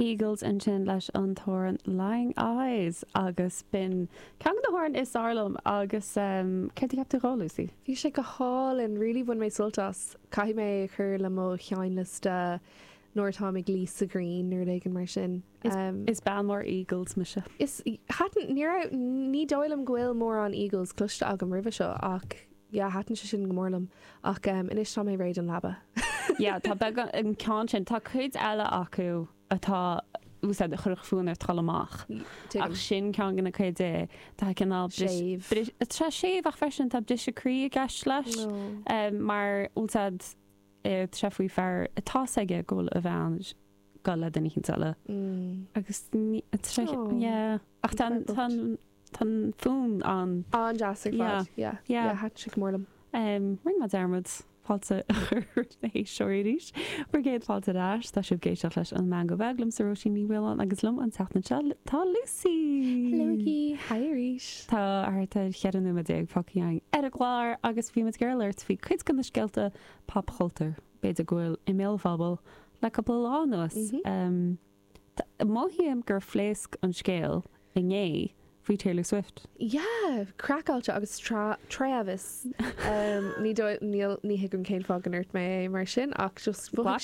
Eagles ansin leis an t-amhrán Lying Eyes agus b'in ceann de na hamhráin is fearr liom agus céard a cheap tú dhó, Lucy? Bhí sé go hálainn, really bhain mé sult as. Caithfidh mé é a chur le mo sheinnliosta nuair atáim ag luí sa ghrian nó rud éigin mar sin. Is bean mhór Eagles mise. Is, thaitin, ní raibh, ní dóigh liom go bhfuil mórán Eagles cloiste agam roimhe seo ach yeah thaitin sé sin go mór liom ach anois tá mé réidh don leaba. Yeah tá beagán, an ceann sin, tá cuid eile acu atá úsáid a chuirfeadh fonn ort dul amach ach sin ceann de na cuid é tá cineál Séimh. Tá séimh ach freisin tá briseadh croí i gceist leis mar úsáid tá sé faoi fear atá 's aige go bhfuil a bhean ag dul le duine éicint eile agus yeah ach tá an Tá an fonn an. An-deas ar fad. Yeah. Yeah. Thaitin sé go mór liom. Rinne mé dearmad fáilte a chur roimh na héisteoirí arís. Bhur gcéad fáilte ar ais. Tá sibh ag éisteacht leis An Meangadh Beag liomsa Róisín Ní Mhaoláin agus liom an tseachtain seo tá Lucy! Hello Hi arís! Tá thart ar 14 nóiméad fágtha againn ar an gclár agus bhí muid ag iarraidh labhairt faoi cuid de na scéalta popchultúir b'fhéidir go bhfuil i mbéal an phobail le cúpla lá anuas. Mothaím gur phléasc an scéal inné faoi Taylor Swift. Yeah! Craiceáilte agus Travis. Ní dóigh, níl, ní thuigim cén fáth go ndúirt mé é mar sin ach just mhothaigh sé.